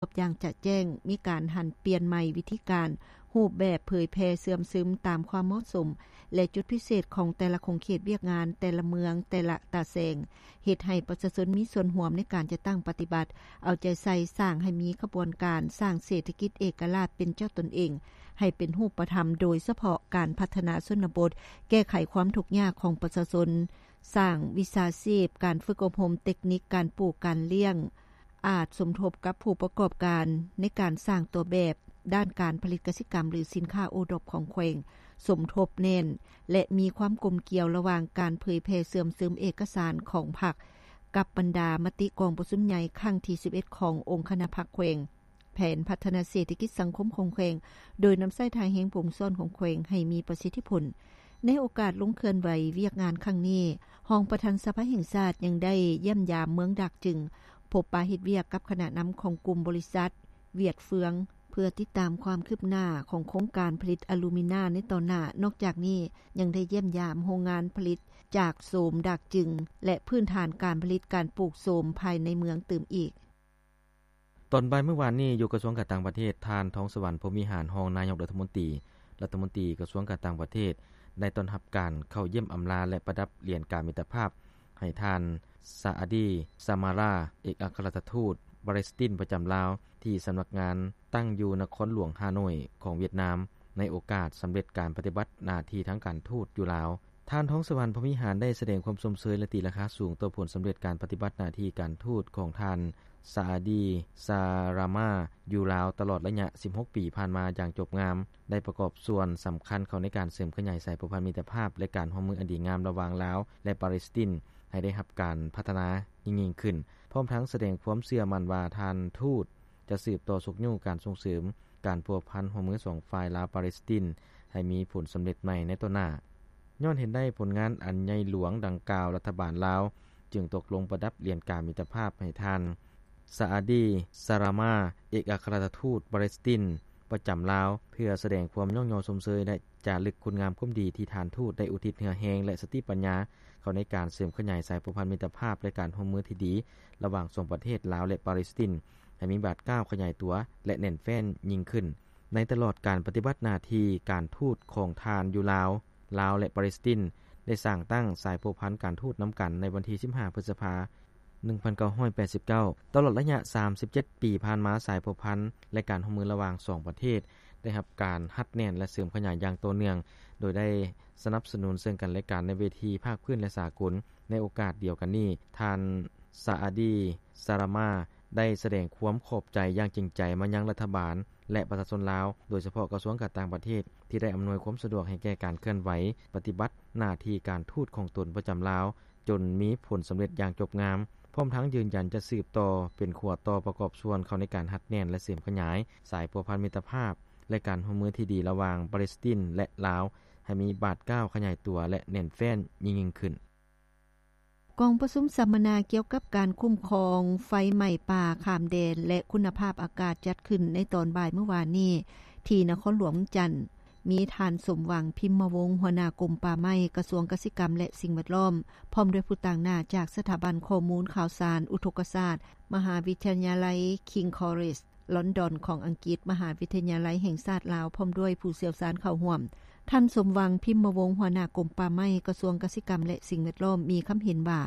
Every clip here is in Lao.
ບຢ່າງຈະແຈ້ງ, ມີການຫັນປ່ຽນໃໝ່ວິທີການ, ຮູບແບບເຜີຍແຜ່ເຊື່ອມຊຶມຕາມຄວາມເໝາະສົມ ແລະ ຈຸດພິເສດຂອງແຕ່ລະຂົງເຂດວຽກງານ, ແຕ່ລະເມືອງ, ແຕ່ລະຕາແສງ, ເຮັດໃຫ້ປະຊາຊົນມີສ່ວນຮ່ວມໃນການຈັດຕັ້ງປະຕິບັດ, ເອົາໃຈໃສ່ສ້າງໃຫ້ມີຂະບວນການສ້າງເສດຖະກິດເອກະລາດເປັນເຈົ້າຕົນເອງ ໃຫ້ເປັນຮູບປະທຳ, ໂດຍສະເພາະການພັດທະນາຊົນນະບົດ, ແກ້ໄຂຄວາມທຸກຍາກຂອງປະຊາຊົນ, ສ້າງວິຊາຊີບ, ການຝຶກອົບຮົມເຕັກນິກການປູກການລ້ຽງ, ອາດສົມທົບກັບຜູ້ປະກອບການໃນການສ້າງຕົວແບບດ້ານການຜະລິດກະສິກຳ ຫຼື ສິນຄ້າໂອດອບຂອງແຂວງ, ສົມທົບແໜ້ນ ແລະ ມີຄວາມກົມກ່ຽວລະຫວ່າງການເຜີຍແຜ່ເຊື່ອມຊຶມເອກະສານຂອງພັກ ກັບບັນດາມະຕິກອງປະຊຸມໃຫຍ່ຄັ້ງທີສິບເອັດ ຂອງອົງຄະນະພັກແຂວງ, ແຜນພັດທະນາເສດຖະກິດສັງຄົມຂອງແຂວງ, ໂດຍນຳໃຊ້ທ່າແຮງຜູ້ສອນຂອງແຂວງໃຫ້ມີປະສິດທິຜົນ. ໃນໂອກາດລົງເຄື່ອນໄຫວວຽກງານຄັ້ງນີ້, ຮອງປະທານສະພາແຫ່ງຊາດຍັງໄດ້ຢ້ຽມຢາມເມືອງດາກຈຶງ, ພົບປະເຮັດວຽກກັບຄະນະນຳຂອງກຸ່ມບໍລິສັດຫວຽດເຟືອງ ເພື່ອຕິດຕາມຄວາມຄືບໜ້າຂອງໂຄງການຜະລິດອາລູມິນາໃນຕໍ່ໜ້າ. ນອກຈາກນີ້, ຍັງໄດ້ຢ້ຽມຢາມໂຮງງານຜະລິດຈາກໂສມດາກຈຶງ ແລະ ພື້ນຖານການຜະລິດການປູກໂສມພາຍໃນເມືອງຕື່ມອີກ. ຕອນບ່າຍມື້ວານນີ້, ຢູ່ກະຊວງການຕ່າງປະເທດ, ທ່ານ ທອງສະຫວັນ ພົມວິຫານ ຮອງນາຍົກລັດຖະມົນຕີ, ລັດຖະມົນຕີກະຊວງການຕ່າງປະເທດ ໄດ້ຕ້ອນຮັບການເຂົ້າຢ້ຽມອຳລາ ແລະ ປະດັບຫຼຽນກາມິດຕະພາບໃຫ້ທ່ານ ຊາອາດີ ຊາມາຣາ ເອກອັກຄະລັດຖະທູດປາເລສຕິນປະຈຳລາວ ທີ່ສຳນັກງານຕັ້ງຢູ່ນະຄອນຫຼວງຮ່າໂນ້ຍຂອງຫວຽດນາມ ໃນໂອກາດສຳເລັດການປະຕິບັດໜ້າທີ່ທາງການທູດຢູ່ລາວ. ທ່ານ ທອງສະຫວັນ ພົມວິຫານ ໄດ້ສະແດງຄວາມຊົມເຊີຍ ແລະ ຕີລາຄາສູງຕໍ່ຜົນສຳເລັດການປະຕິບັດໜ້າທີ່ການທູດຂອງທ່ານ ຊາອາດີ ຊາຣາມາ ຢູ່ລາວຕະຫຼອດໄລຍະສິບຫົກປີຜ່ານມາຢ່າງຈົບງາມ, ໄດ້ປະກອບສ່ວນສຳຄັນເຂົ້າໃນການເສີມຂະຫຍາຍສາຍພົວພັນມິດຕະພາບ ແລະ ການຮ່ວມມືອັນດີງາມລະຫວ່າງລາວ ແລະ ປາເລສຕິນ ໃຫ້ໄດ້ຮັບການພັດທະນາຍິ່ງໆຂຶ້ນ, ພ້ອມທັງສະແດງຄວາມເຊື່ອໝັ້ນວ່າທ່ານທູດຈະສືບຕໍ່ຊຸກຍູ້ການສົ່ງເສີມການພົວພັນຮ່ວມມືສອງຝ່າຍລາວ-ປາເລສຕິນ ໃຫ້ມີຜົນສຳເລັດໃໝ່ໃນຕໍ່ໜ້າ. ຍ້ອນເຫັນໄດ້ຜົນງານອັນໃຫຍ່ຫຼວງດັ່ງກ່າວ, ລັດຖະບານລາວຈຶ່ງຕົກລົງປະດັບຫຼຽນກາມິດຕະພາບໃຫ້ທ່ານ ຊາອາດີ ຊາຣາມາ ເອກອັກຄະລັດຖະທູດປາເລສຕິນປະຈຳລາວ ເພື່ອສະແດງຄວາມຍ້ອງຍໍຊົມເຊີຍ ແລະ ຈາລຶກຄຸນງາມຄວາມດີທີ່ທ່ານທູດໄດ້ອຸທິດເຫື່ອແຮງ ແລະ ສະຕິປັນຍາເຂົ້າໃນການເສີມຂະຫຍາຍສາຍພົວພັນມິດຕະພາບ ແລະ ການຮ່ວມມືທີ່ດີລະຫວ່າງສອງປະເທດລາວ ແລະ ປາເລສຕິນ ໃຫ້ມີບາດກ້າວຂະຫຍາຍຕົວ ແລະ ແໜ້ນແຟ້ນຍິ່ງຂຶ້ນ. ໃນຕະຫຼອດການປະຕິບັດໜ້າທີ່ການທູດຂອງທ່ານຢູ່ລາວ, ລາວ ແລະ ປາເລສຕິນ ໄດ້ສ້າງຕັ້ງສາຍພົວພັນການທູດນຳກັນໃນວັນທີສິບຫ້າ ພຶດສະພາ ໜຶ່ງພັນເກົ້າຮ້ອຍແປດສິບເກົ້າ. ຕະຫຼອດໄລຍະສາມສິບເຈັດປີຜ່ານມາ, ສາຍພົວພັນ ແລະ ການຮ່ວມມືລະຫວ່າງສອງປະເທດ ໄດ້ຮັບການຮັດແໜ້ນ ແລະ ເສີມຂະຫຍາຍຢ່າງຕໍ່ເນື່ອງ, ໂດຍໄດ້ສະໜັບສະໜູນເຊິ່ງກັນແລະກັນໃນເວທີພາກພື້ນ ແລະ ສາກົນ. ໃນໂອກາດດຽວກັນນີ້, ທ່ານ ຊາອາດີ ຊາຣາມາ ໄດ້ສະແດງຄວາມຂອບໃຈຢ່າງຈິງໃຈມາຍັງລັດຖະບານ ແລະ ປະຊາຊົນລາວ, ໂດຍສະເພາະກະຊວງການຕ່າງປະເທດ ທີ່ໄດ້ອຳນວຍຄວາມສະດວກໃຫ້ແກ່ການເຄື່ອນໄຫວປະຕິບັດໜ້າທີ່ການທູດຂອງຕົນປະຈຳລາວ, ຈົນມີຜົນສຳເລັດຢ່າງຈົບງາມ, ພ້ອມທັງຢືນຢັນຈະສືບຕໍ່ເປັນຂົວຕໍ່ປະກອບສ່ວນເຂົ້າໃນການຮັດແໜ້ນ ແລະ ເສີມຂະຫຍາຍສາຍພົວພັນມິດຕະພາບ ແລະ ການຮ່ວມມືທີ່ດີລະຫວ່າງປາເລສຕິນ ແລະ ລາວ ໃຫ້ມີບາດກ້າວຂະຫຍາຍຕົວ ແລະ ແໜ້ນແຟ້ນຍິ່ງໆຂຶ້ນ. ກອງປະຊຸມສຳມະນາກ່ຽວກັບການຄຸ້ມຄອງໄຟໄໝ້ປ່າຂ້າມແດນ ແລະ ຄຸນນະພາບອາກາດ ຈັດຂຶ້ນໃນຕອນບ່າຍມື້ວານນີ້ ທີ່ນະຄອນຫຼວງວຽງຈັນ, ມີທ່ານ ສົມຫວັງ ພິມມະວົງ ຫົວໜ້າກົມປ່າໄມ້ ກະຊວງກະສິກຳ ແລະ ສິ່ງແວດລ້ອມ, ພ້ອມດ້ວຍຜູ້ຕາງໜ້າຈາກສະຖາບັນຂໍ້ມູນຂ່າວສານ ອຸທົກກະສາດ ມະຫາວິທະຍາໄລ King's College ລອນດອນຂອງອັງກິດ, ມະຫາວິທະຍາໄລແຫ່ງຊາດລາວ ພ້ອມດ້ວຍຜູ້ຊ່ຽວຊານເຂົ້າຮ່ວມ. ທ່ານ ສົມຫວັງ ພິມມະວົງ ຫົວໜ້າກົມປ່າໄມ້ ກະຊວງກະສິກຳ ແລະ ສິ່ງແວດລ້ອມ ມີຄຳເຫັນວ່າ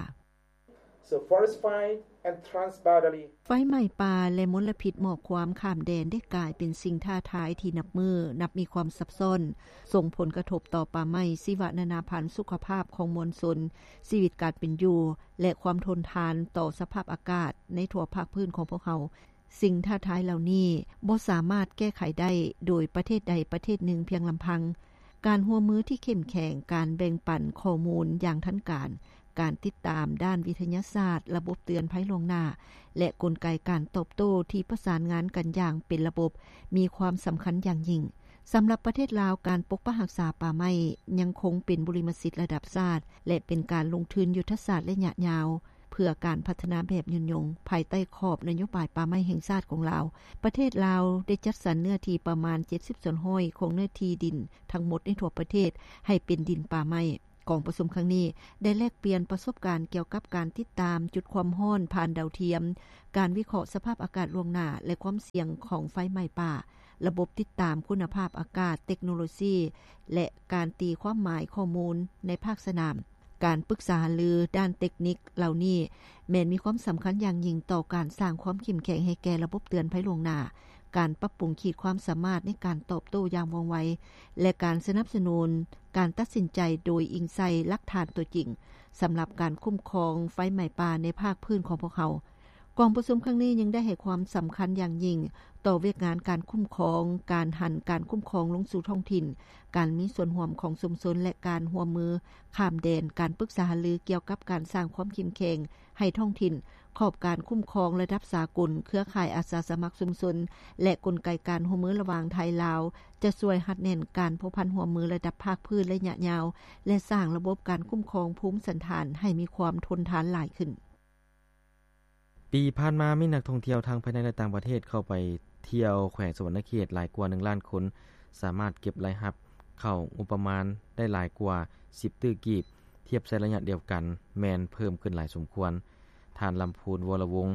So forest fire and transboundary ໄຟໄໝ້ປ່າ ແລະ ມົນລະພິດໝອກຄວາມຂ້າມແດນ ໄດ້ກາຍເປັນສິ່ງທ້າທາຍທີ່ນັບມື້ນັບມີຄວາມຊັບຊ້ອນ, ສົ່ງຜົນກະທົບຕໍ່ປ່າໄມ້, ຊີວະນານາພັນ, ສຸຂະພາບຂອງມວນຊົນ, ຊີວິດການເປັນຢູ່ ແລະ ຄວາມທົນທານຕໍ່ສະພາບອາກາດໃນທົ່ວພາກພື້ນຂອງພວກເຮົາ. ສິ່ງທ້າທາຍເຫຼົ່ານີ້ບໍ່ສາມາດແກ້ໄຂໄດ້ໂດຍປະເທດໃດປະເທດໜຶ່ງພຽງລຳພັງ. ການຮ່ວມມືທີ່ເຂັ້ມແຂງ, ການແບ່ງປັນຂໍ້ມູນຢ່າງທັນການ, ການຕິດຕາມດ້ານວິທະຍາສາດ, ລະບົບເຕືອນໄພລ່ວງໜ້າ ແລະ ກົນໄກການຕອບໂຕ້ທີ່ປະສານງານກັນຢ່າງເປັນລະບົບ ມີຄວາມສຳຄັນຢ່າງຍິ່ງ. ສຳລັບປະເທດລາວ, ການປົກປັກຮັກສາປ່າໄມ້ຍັງຄົງເປັນບຸລິມະສິດລະດັບຊາດ ແລະ ເປັນການລົງທຶນຍຸດທະສາດໄລຍະຍາວ ເພື່ອການພັດທະນາແບບຍືນຍົງ. ພາຍໃຕ້ຂອບນະໂຍບາຍປ່າໄມ້ແຫ່ງຊາດຂອງລາວ, ປະເທດລາວໄດ້ຈັດສັນເນື້ອທີ່ປະມານເຈັດສິບສ່ວນຮ້ອຍຂອງເນື້ອທີ່ດິນທັງໝົດໃນທົ່ວປະເທດໃຫ້ເປັນດິນປ່າໄມ້. ກອງປະຊຸມຄັ້ງນີ້ ໄດ້ແລກປ່ຽນປະສົບການກ່ຽວກັບການຕິດຕາມຈຸດຄວາມຮ້ອນຜ່ານດາວທຽມ, ການວິເຄາະສະພາບອາກາດລ່ວງໜ້າ ແລະ ຄວາມສ່ຽງຂອງໄຟໄໝ້ປ່າ, ລະບົບຕິດຕາມຄຸນນະພາບອາກາດ, ເຕັກໂນໂລຊີ ແລະ ການຕີຄວາມໝາຍຂໍ້ມູນໃນພາກສະໜາມ. ການປຶກສາຫາລືດ້ານເຕັກນິກເຫຼົ່ານີ້ ແມ່ນມີຄວາມສຳຄັນຢ່າງຍິ່ງຕໍ່ການສ້າງຄວາມເຂັ້ມແຂງໃຫ້ແກ່ລະບົບເຕືອນໄພລ່ວງໜ້າ, ການປັບປຸງຂີດຄວາມສາມາດໃນການຕອບໂຕ້ຢ່າງວ່ອງໄວ ແລະ ການສະໜັບສະໜູນການຕັດສິນໃຈໂດຍອີງໃສ່ຫຼັກຖານຕົວຈິງ ສຳລັບການຄຸ້ມຄອງໄຟໄໝ້ປ່າໃນພາກພື້ນຂອງພວກເຮົາ. ກອງປະຊຸມຄັ້ງນີ້ຍັງໄດ້ໃຫ້ຄວາມສຳຄັນຢ່າງຍິ່ງຕໍ່ວຽກງານການຄຸ້ມຄອງ, ການຫັນການຄຸ້ມຄອງລົງສູ່ທ້ອງຖິ່ນ, ການມີສ່ວນຮ່ວມຂອງຊຸມຊົນ ແລະ ການຮ່ວມມືຂ້າມແດນ, ການປຶກສາຫາລືກ່ຽວກັບການສ້າງຄວາມເຂັ້ມແຂງໃຫ້ທ້ອງຖິ່ນ, ຂອບການຄຸ້ມຄອງລະດັບສາກົນ, ເຄືອຂ່າຍອາສາສະໝັກຊຸມຊົນ ແລະ ກົນໄກການຮ່ວມມືລະຫວ່າງໄທ-ລາວ ຈະຊ່ວຍຮັດແໜ້ນການພົວພັນຮ່ວມມືລະດັບພາກພື້ນໄລຍະຍາວ ແລະ ສ້າງລະບົບການຄຸ້ມຄອງພູມສັນຖານໃຫ້ມີຄວາມທົນທານຫຼາຍຂຶ້ນ. ປີຜ່ານມາມີນັກທ່ອງທ່ຽວທັງພາຍໃນ ແລະ ຕ່າງປະເທດເຂົ້າໄປທ່ຽວແຂວງສະຫວັນນະເຂດຫຼາຍກວ່າໜຶ່ງລ້ານຄົນ, ສາມາດເກັບລາຍຮັບເຂົ້າງົບປະມານໄດ້ຫຼາຍກວ່າສິບຕື້ກີບ, ທຽບໃສ່ໄລຍະດຽວກັນແມ່ນເພີ່ມຂຶ້ນຫຼາຍສົມຄວນ. ທ່ານ ລຳພູນ ວໍລະວົງ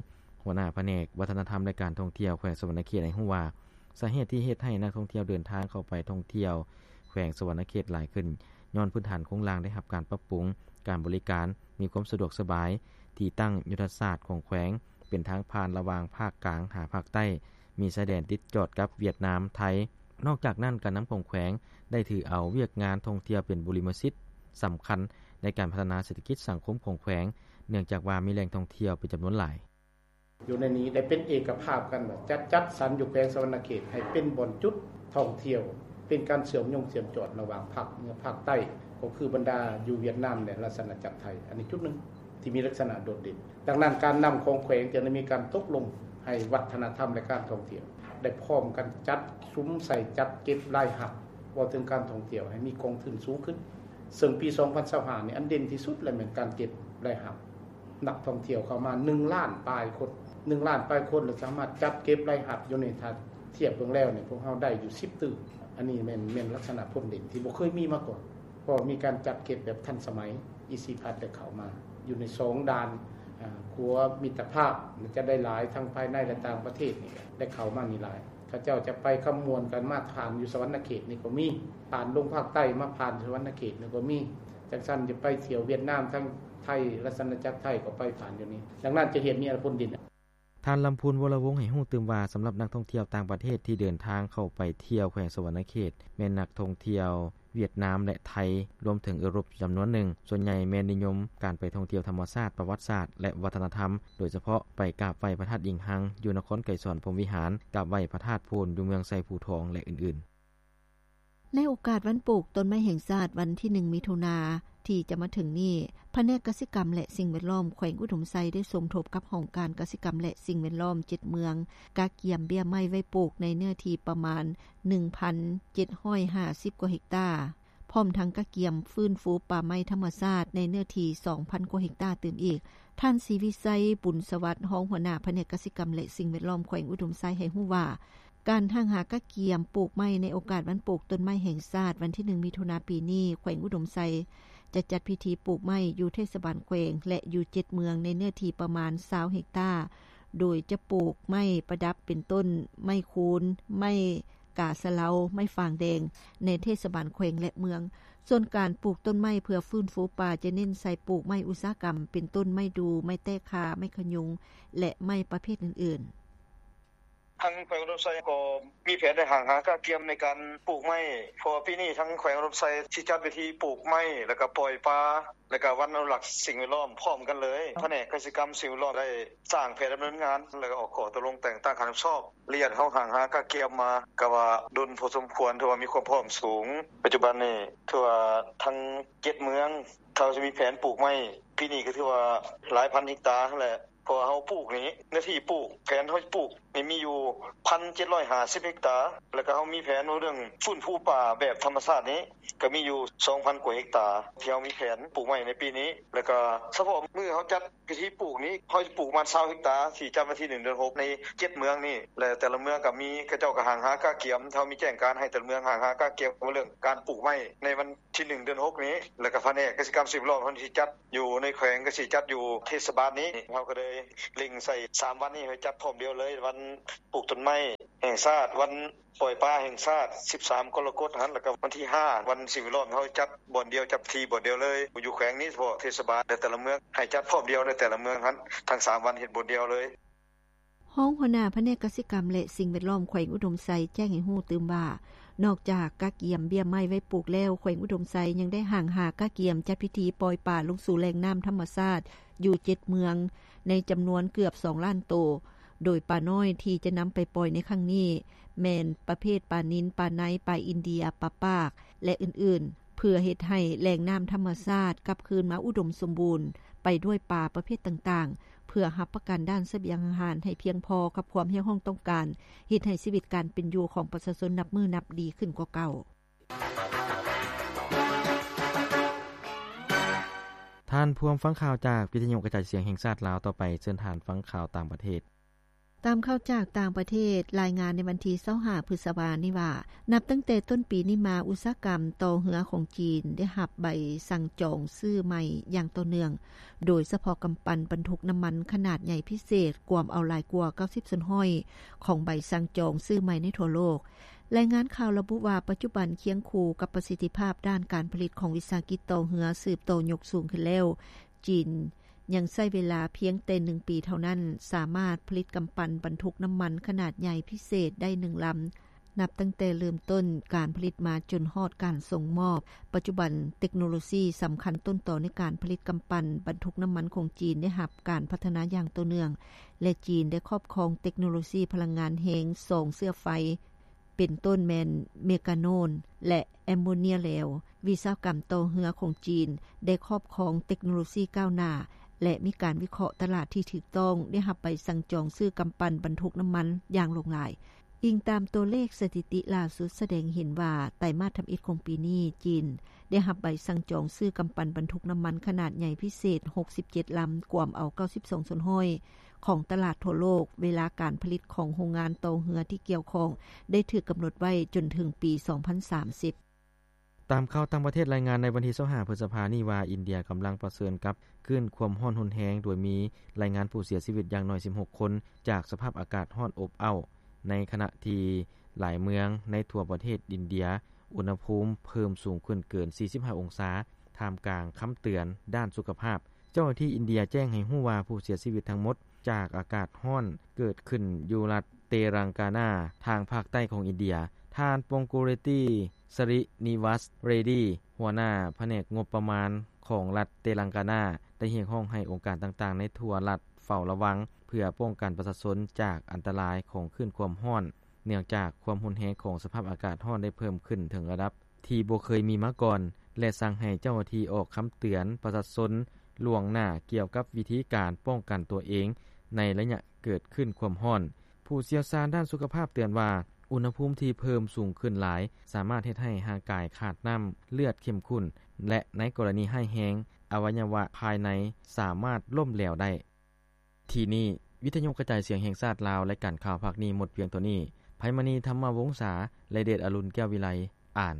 ຫົວໜ້າພະແນກວັດທະນະທຳ ແລະ ການທ່ອງທ່ຽວແຂວງສະຫວັນນະເຂດ ໃຫ້ຮູ້ວ່າ ສາເຫດທີ່ເຮັດໃຫ້ນັກທ່ອງທ່ຽວເດີນທາງເຂົ້າໄປທ່ອງທ່ຽວແຂວງສະຫວັນນະເຂດຫຼາຍຂຶ້ນ ຍ້ອນພື້ນຖານໂຄງລ່າງໄດ້ຮັບການປັບປຸງ, ການບໍລິການມີຄວາມສະດວກສະບາຍ, ທີ່ຕັ້ງຍຸດທະສາດຂອງແຂວງເປັນທາງຜ່ານລະຫວ່າງພາກກາງຫາພາກໃຕ້, ມີຊາຍແດນຕິດຈອດກັບຫວຽດນາມ, ໄທ. ນອກຈາກນັ້ນ, ການນຳຂອງແຂວງໄດ້ຖືເອົາວຽກງານທ່ອງທ່ຽວເປັນບູລິມະສິດສຳຄັນໃນການພັດທະນາເສດຖະກິດສັງຄົມຂອງແຂວງ, ເນື່ອງຈາກວ່າມີແຫຼ່ງທ່ອງທ່ຽວເປັນຈຳນວນຫຼາຍ. ຢູ່ໃນນີ້ໄດ້ເປັນເອກະພາບກັນວ່າຈະຈັດສັນຢູ່ແຂວງສະຫວັນນະເຂດໃຫ້ເປັນບ່ອນຈຸດທ່ອງທ່ຽວ, ເປັນການເຊື່ອມໂຍງເຊື່ອມຈອດລະຫວ່າງພາກເໜືອພາກໃຕ້, ກໍຄືບັນດາຢູ່ຫວຽດນາມ ແລະ ລາຊະອານາຈັກໄທ. ອັນນີ້ຈຸດໜຶ່ງທີ່ມີລັກສະນະໂດດເດັ່ນ. ດັ່ງນັ້ນ, ການນຳຂອງແຂວງຈະໄດ້ມີການຕົກລົງໃຫ້ວັດທະນະທຳ ແລະ ການທ່ອງທ່ຽວ ໄດ້ພ້ອມກັນຈັດສຸມໃສ່ຈັດເກັບລາຍຮັບ ເວົ້າເຖິງການທ່ອງທ່ຽວໃຫ້ມີກອງທຶນສູງຂຶ້ນ. ເຊິ່ງປີສອງພັນຊາວຫ້ານີ້ ອັນເດັ່ນທີ່ສຸດແລ້ວແມ່ນການເກັບລາຍຮັບ ນັກທ່ອງທ່ຽວເຂົ້າມາໜຶ່ງລ້ານປາຍຄົນ, ໜຶ່ງລ້ານປາຍຄົນ ແລະ ສາມາດຈັດເກັບລາຍຮັບຢູ່ໃນ ຖ້າທຽບເບິ່ງແລ້ວນີ້ ພວກເຮົາໄດ້ຢູ່ສິບຕື້. ອັນນີ້ແມ່ນ ແມ່ນລັກສະນະພົ້ນເດັ່ນທີ່ບໍ່ເຄີຍມີມາກ່ອນ, ເພາະມີການຈັດເກັບແບບທັນສະໄໝ. ອີຊີພັດໄດ້ເຂົ້າມາຢູ່ໃນສອງດ່ານ ອາ ຂົວມິດຕະພາບ ຈະໄດ້ຫຼາຍ ທັງພາຍໃນ ແລະ ຕ່າງປະເທດນີ້ໄດ້ເຂົ້າມານີ້ຫຼາຍ. ເຂົາເຈົ້າຈະໄປຄຳມ່ວນກັນມາຜ່ານຢູ່ສະຫວັນນະເຂດນີ້ກໍມີ, ຜ່ານລົງພາກໃຕ້ມາຜ່ານສະຫວັນນະເຂດນີ້ກໍມີ. ຈັ່ງຊັ້ນຈະໄປທ່ຽວຫວຽດນາມທາງໄທ, ລາຊະອານາຈັກໄທກໍໄປຜ່ານຢູ່ນີ້. ດັ່ງນັ້ນຈະເຮັດໃຫ້ມີອະນາຄົດດີ. ທ່ານ ລຳພູນ ວໍລະວົງ ໃຫ້ຮູ້ຕື່ມວ່າ ສຳລັບນັກທ່ອງທ່ຽວຕ່າງປະເທດທີ່ເດີນທາງເຂົ້າໄປທ່ຽວແຂວງສະຫວັນນະເຂດ ແມ່ນນັກທ່ອງທ່ຽວຫວຽດນາມ ແລະ ໄທ, ລວມເຖິງເອີຣົບຈຳນວນໜຶ່ງ. ສ່ວນໃຫຍ່ແມ່ນນິຍົມການໄປທ່ອງທ່ຽວທຳມະຊາດ, ປະຫວັດສາດ ແລະ ວັດທະນະທຳ, ໂດຍສະເພາະໄປກາບໄຫວ້ພະທາດອີງຮັງຢູ່ນະຄອນໄກສອນພົມວິຫານ, ກາບໄຫວ້ພະທາດໂພນຢູ່ເມືອງໄຊພູທອງ ແລະ ອື່ນໆ. ໃນໂອກາດວັນປູກຕົ້ນໄມ້ແຫ່ງຊາດ ວັນທີໜຶ່ງ ມິຖຸນາ ທີ່ຈະມາເຖິງນີ້, ພະແນກກະສິກຳ ແລະ ສິ່ງແວດລ້ອມ ແຂວງອຸດົມໄຊ ໄດ້ສົມທົບກັບຫ້ອງການກະສິກຳ ແລະ ສິ່ງແວດລ້ອມ ເຈັດເມືອງ ກະກຽມເບ້ຍໄມ້ໄວ້ປູກໃນເນື້ອທີ່ປະມານ ໜຶ່ງພັນເຈັດຮ້ອຍຫ້າສິບກວ່າເຮັກຕາ, ພ້ອມທັງກະກຽມຟື້ນຟູປ່າໄມ້ທຳມະຊາດໃນເນື້ອທີ່ ສອງພັນກວ່າເຮັກຕາຕື່ມອີກ. ທ່ານ ສີວິໄຊ ບຸນສະຫວັດ ຮອງຫົວໜ້າພະແນກກະສິກຳ ແລະ ສິ່ງແວດລ້ອມ ແຂວງອຸດົມໄຊ ໃຫ້ຮູ້ວ່າ ການຮັ່ງຫາກະກຽມປູກໄມ້ໃນໂອກາດວັນປູກຕົ້ນໄມ້ແຫ່ງຊາດ ວັນທີໜຶ່ງ ມິຖຸນາ ປີນີ້, ແຂວງອຸດົມໄຊ ຈະຈັດພິທີປູກໄມ້ຢູ່ເທດສະບານແຂວງ ແລະ ຢູ່ເຈັດເມືອງໃນເນື້ອທີ່ປະມານຊາວເຮັກຕາ, ໂດຍຈະປູກໄມ້ປະດັບເປັນຕົ້ນໄມ້ຄູນ, ໄມ້ກາສະເລົາ, ໄມ້ຟາງແດງ ໃນເທດສະບານແຂວງ ແລະ ເມືອງ. ສ່ວນການປູກຕົ້ນໄມ້ເພື່ອຟື້ນຟູປ່າ ຈະເນັ້ນໃສ່ປູກໄມ້ອຸດສາຫະກຳ ເປັນຕົ້ນໄມ້ດູ່, ໄມ້ແຕ້ຄາ, ໄມ້ຂະຍຸງ ແລະ ໄມ້ປະເພດອື່ນໆ. ທາງແຂວງອຸດົມໄຊກໍມີແຜນໄດ້ຮັ່ງຫາກະກຽມໃນການປູກໄມ້, ເພາະວ່າປີນີ້ທາງແຂວງອຸດົມໄຊຊິຈັດເວທີປູກໄມ້ ແລ້ວກະປ່ອຍປາ ແລ້ວກະວັນອະນຸລັກສິ່ງແວດລ້ອມພ້ອມກັນເລີຍ. ພະແນກກະສິກຳ ສິ່ງແວດລ້ອມໄດ້ສ້າງແຜນດຳເນີນງານ ແລ້ວກະອອກຂໍ້ຕົກລົງແຕ່ງຕັ້ງການຮັບຜິດຊອບ. ລະຍະເຮົາຮັ່ງຫາກະກຽມມາກະວ່າດົນພໍສົມຄວນ, ຖືວ່າມີຄວາມພ້ອມສູງ. ປັດຈຸບັນນີ້ຖືວ່າທັງເຈັດເມືອງ ເຮົາຈະມີແຜນປູກໄມ້ ປີນີ້ກະຖືວ່າຫຼາຍພັນເຮັກຕາຫັ້ນແຫຼະ. ເພາະວ່າເຮົາປູກນີ້ ເນື້ອທີ່ປູກ ແຜນເຮົາປູກ ມີຢູ່ ໜຶ່ງພັນເຈັດຮ້ອຍຫ້າສິບເຮັກຕາ ແລ້ວກໍເຮົາມີແຜນວ່າເລື່ອງຟື້ນຟູປ່າແບບທຳມະຊາດນີ້ ກໍມີຢູ່ ສອງພັນກວ່າເຮັກຕາ ທີ່ເຮົາມີແຜນປູກໄມ້ໃນປີນີ້ ແລ້ວກໍສະເພາະມື້ເຮົາຈັດພິທີປູກນີ້ ເຮົາຈະປູກປະມານຊາວເຮັກຕາ ທີ່ຈັດວັນທີໜຶ່ງເດືອນຫົກ ໃນເຈັດເມືອງນີ້ ແລະ ແຕ່ລະເມືອງກໍມີ ເຂົາເຈົ້າກໍຫ້າງຫາກະກຽມ ເຮົາມີແຈ້ງການໃຫ້ແຕ່ລະເມືອງຫ້າງຫາກະກຽມ ເລື່ອງການປູກໄມ້ໃນວັນທີໜຶ່ງເດືອນຫົກນີ້ ແລ້ວກໍພະແນກກະສິກຳສິ່ງແວດລ້ອມເຮົາຊິຈັດ ຢູ່ໃນແຂວງກໍຊິຈັດຢູ່ເທດສະບານນີ້ ເຮົາກໍເລີຍເລັ່ງໃສ່ສາມວັນນີ້ໃຫ້ຈັດພ້ອມດຽວເລີຍ ວັນປູກຕົ້ນໄມ້ແຫ່ງຊາດ ວັນປ່ອຍປາແຫ່ງຊາດ ສິບສາມກໍລະກົດຫັ້ນ ແລ້ວກໍວັນທີຫ້າ ວັນສິ່ງແວດລ້ອມ ເຮົາຈັດບ່ອນດຽວ ຈັດທີ່ບ່ອນດຽວເລີຍ ຢູ່ແຂວງນີ້ສະເພາະເທດສະບານ ແຕ່ລະເມືອງ ໃຫ້ຈັດພ້ອມດຽວໃນແຕ່ລະເມືອງຫັ້ນ ທັງສາມວັນເຮັດບ່ອນດຽວເລີຍ. ຮອງຫົວໜ້າພະແນກກະສິກຳ ແລະ ສິ່ງແວດລ້ອມແຂວງອຸດົມໄຊແຈ້ງໃຫ້ຮູ້ຕື່ມວ່າ ນອກຈາກກະກຽມເບ້ຍໄມ້ໄວ້ປູກແລ້ວ, ແຂວງອຸດົມໄຊຍັງໄດ້ຫ້າງຫາກະກຽມຈັດພິທີປ່ອຍປາລົງສູ່ແຫຼ່ງນ້ຳທຳມະຊາດຢູ່ເຈັດເມືອງ ໃນຈຳນວນເກືອບສອງລ້ານໂຕ, ໂດຍປານ້ອຍທີ່ຈະນຳໄປປ່ອຍໃນຄັ້ງນີ້ ແມ່ນປະເພດປານິນ, ປາໄນ, ປາອິນເດຍ, ປາປາກ ແລະ ອື່ນໆ ເພື່ອເຮັດໃຫ້ແຫຼ່ງນ້ຳທຳມະຊາດກັບຄືນມາອຸດົມສົມບູນໄປດ້ວຍປາປະເພດຕ່າງໆ ເພື່ອຮັບປະກັນດ້ານສະບຽງອາຫານໃຫ້ພຽງພໍກັບຄວາມຮຽກຮ້ອງຕ້ອງການ, ເຮັດໃຫ້ຊີວິດການເປັນຢູ່ຂອງປະຊາຊົນນັບມື້ນັບດີຂຶ້ນກວ່າເກົ່າ. ທ່ານພວມຟັງຂ່າວຈາກວິທະຍຸກະຈາຍສຽງແຫ່ງຊາດລາວ, ຕໍ່ໄປເຊີນທ່ານຟັງຂ່າວຕ່າງປະເທດ. ຕາມຂ່າວຈາກຕ່າງປະເທດລາຍງານໃນວັນທີຊາວຫ້າ ພຶດສະພານີ້ວ່າ ນັບຕັ້ງແຕ່ຕົ້ນປີນີ້ມາ ອຸດສາຫະກຳຕໍ່ເຮືອຂອງຈີນໄດ້ຮັບໃບສັ່ງຈອງຊື້ໃໝ່ຢ່າງຕໍ່ເນື່ອງ, ໂດຍສະເພາະກຳປັ່ນບັນທຸກນ້ຳມັນຂະໜາດໃຫຍ່ພິເສດ ກວມເອົາຫຼາຍກວ່າເກົ້າສິບສ່ວນຮ້ອຍຂອງໃບສັ່ງຈອງຊື້ໃໝ່ໃນທົ່ວໂລກ. ລາຍງານຂ່າວລະບຸວ່າ ປັດຈຸບັນຄຽງຄູ່ກັບປະສິດທິພາບດ້ານການຜະລິດຂອງວິສາຫະກິດຕໍ່ເຮືອສືບຕໍ່ຍົກສູງຂຶ້ນແລ້ວ, ຈີນ ຍັງໃຊ້ເວລາພຽງແຕ່ໜຶ່ງປີເທົ່ານັ້ນ ສາມາດຜະລິດກຳປັ່ນບັນທຸກນ້ຳມັນຂະໜາດໃຫຍ່ພິເສດໄດ້ໜຶ່ງລຳ ນັບຕັ້ງແຕ່ເລີ່ມຕົ້ນການຜະລິດມາຈົນຮອດການສົ່ງມອບ. ປັດຈຸບັນເຕັກໂນໂລຊີສຳຄັນຕົ້ນຕໍໃນການຜະລິດກຳປັ່ນບັນທຸກນ້ຳມັນຂອງຈີນໄດ້ຮັບການພັດທະນາຢ່າງຕໍ່ເນື່ອງ ແລະ ຈີນໄດ້ຄອບຄອງເຕັກໂນໂລຊີພະລັງງານແຮງສອງເຊື້ອໄຟ ເປັນຕົ້ນແມ່ນເມກາໂນນ ແລະ ແອມໂມເນຍແລ້ວ. ວິສາຫະກຳຕໍ່ເຮືອຂອງຈີນໄດ້ຄອບຄອງເຕັກໂນໂລຊີກ້າວໜ້າ ແລະ ມີການວິເຄາະຕະຫຼາດທີ່ຖືກຕ້ອງ, ໄດ້ຮັບໃບສັ່ງຈອງຊື້ກຳປັ່ນບັນທຸກນ້ຳມັນຢ່າງຫຼວງຫຼາຍ. ອີງຕາມຕົວເລກສະຖິຕິລ່າສຸດສະແດງເຫັນວ່າ ໄຕມາດທຳອິດຂອງປີນີ້, ຈີນໄດ້ຮັບໃບສັ່ງຈອງຊື້ກຳປັ່ນບັນທຸກນ້ຳມັນຂະໜາດໃຫຍ່ພິເສດຫົກສິບເຈັດລຳ, ກວມເອົາເກົ້າສິບສອງສ່ວນຮ້ອຍ ຂອງຕະຫຼາດທົ່ວໂລກ, ເວລາການຜະລິດຂອງໂຮງງານຕໍ່ເຮືອທີ່ກ່ຽວຂ້ອງໄດ້ຖືກກຳນົດໄວ້ຈົນເຖິງປີສອງພັນສາມສິບ. ຕາມຂ່າວຕ່າງປະເທດລາຍງານໃນວັນທີຊາວຫ້າ ພຶດສະພານີ້ວ່າ ອິນເດຍກຳລັງປະເຊີນກັບຄື້ນຄວາມຮ້ອນຮຸນແຮງ, ໂດຍມີລາຍງານຜູ້ເສຍຊີວິດຢ່າງໜ້ອຍສິບຫົກຄົນ ຈາກສະພາບອາກາດຮ້ອນອົບເອົ້າ, ໃນຂະນະທີ່ຫຼາຍເມືອງໃນທົ່ວປະເທດອິນເດຍ ອຸນຫະພູມເພີ່ມສູງຂຶ້ນເກີນສີ່ສິບຫ້າອົງສາ, ທ່າມກາງຄຳເຕືອນດ້ານສຸຂະພາບ. ເຈົ້າໜ້າທີ່ອິນເດຍແຈ້ງໃຫ້ຮູ້ວ່າ ຜູ້ເສຍຊີວິດທັງໝົດຈາກອາກາດຮ້ອນເກີດຂຶ້ນຢູ່ລັດເຕລັງການາ ທາງພາກໃຕ້ຂອງອິນເດຍ. ທ່ານ ປົງກູເຣຕີ ສະຣິນິວັດເຣດີ ຫົວໜ້າພະແນກງົບປະມານຂອງລັດເຕລັງການາ ໄດ້ຮຽກຮ້ອງໃຫ້ອົງການຕ່າງໆໃນທົ່ວລັດເຝົ້າລະວັງ ເພື່ອປ້ອງກັນປະຊາຊົນຈາກອັນຕະລາຍຂອງຄື້ນຄວາມຮ້ອນ, ເນື່ອງຈາກຄວາມຮຸນແຮງຂອງສະພາບອາກາດຮ້ອນໄດ້ເພີ່ມຂຶ້ນເຖິງລະດັບ ທີ່ບໍ່ເຄີຍມີມາກ່ອນ ແລະ ສັ່ງໃຫ້ເຈົ້າໜ້າທີ່ອອກຄຳເຕືອນປະຊາຊົນລ່ວງໜ້າກ່ຽວກັບວິທີການປ້ອງກັນຕົວເອງໃນໄລຍະເກີດຂຶ້ນຄວາມຮ້ອນ. ຜູ້ຊ່ຽວຊານດ້ານສຸຂະພາບເຕືອນວ່າ ອຸນຫະພູມທີ່ເພີ່ມສູງຂຶ້ນຫຼາຍ ສາມາດເຮັດໃຫ້ຮ່າງກາຍຂາດນ້ຳ, ເລືອດເຂັ້ມຂຸ້ນ ແລະ ໃນກໍລະນີຮ້າຍແຮງ, ອະໄວຍະວະພາຍໃນສາມາດລົ້ມແຫຼວໄດ້. ທີ່ນີ້ ວິທະຍຸກະຈາຍສຽງແຫ່ງຊາດລາວ, ລາຍການຂ່າວພາກນີ້ໝົດພຽງເທົ່ານີ້. ໄພມະນີ ທຳມະວົງສາ ແລະ ເດດອະລຸນ ແກ້ວວິໄລ ອ່ານ.